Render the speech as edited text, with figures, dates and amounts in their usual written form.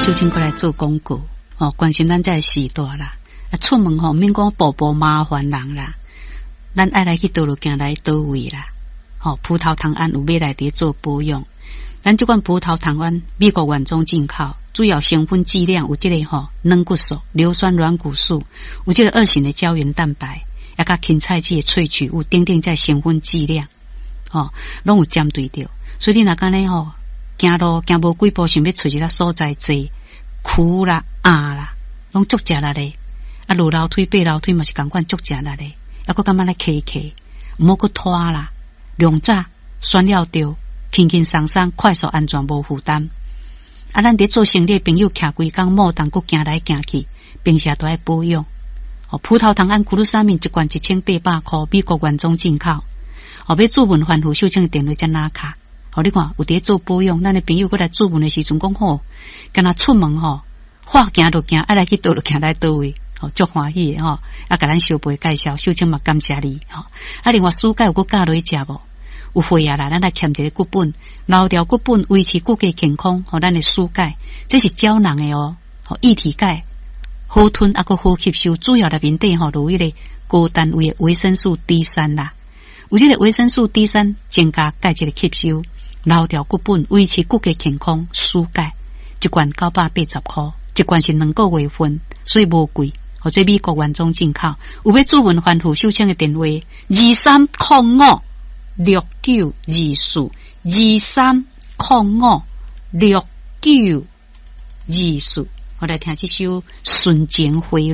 秀清閣來做廣告，吼，關心咱這个時代啦。啊，出門吼，免講步步麻煩人啦，咱愛來去佗落行來佗位啦。吼，葡萄糖胺有買來佇做保養。咱這款葡萄糖胺美國原裝進口，主要成分劑量有這个吼軟骨素、硫酸軟骨素，有這个二型的膠原蛋白，抑佮芹菜籽的萃取物等等，這成分劑量，吼，攏有針對著。所以你若按呢吼，行路行無幾步，想欲揣一个所在坐，跍啦、壓啦，攏足食力的。啊，落樓梯、爬樓梯嘛是仝款足食力的。啊，閣感覺咧磕磕，毋好閣拖啦，量早選了著，輕輕鬆鬆，快速安全無負擔。啊，咱佇做生理的朋友，徛規工耄動，閣行來行去，平時都愛保養。哦，葡萄糖胺 glucosamine 一罐1800箍，美國原裝進口。哦，欲諮問番號秀清的電話才拿卡。哦，你看有佇做保養，咱的朋友閣來諮問的時陣講吼，敢若出門吼，話行就行，愛來去佗就行來佗位，吼，足歡喜的吼。啊，共咱相陪介紹，秀清嘛感謝你吼。啊，另外暑假有閣教落去食無？有會啊啦，咱來簽一个骨本，留掉骨本，維持骨骼健康。吼，咱的暑假，這是膠囊的哦，吼，液體鈣好吞啊，閣好吸收。主要內面底吼，有彼个高單位的維生素 D 三啦，有這个維生素 D 三增加鈣質的吸收，留掉骨本，維持骨骼健康。暑假一罐980箍，一罐是2個月份，所以無貴。或者美國原裝進口，有欲諮問番號秀清的電話：23056924，23056924。我來聽這首《純情花蕊》。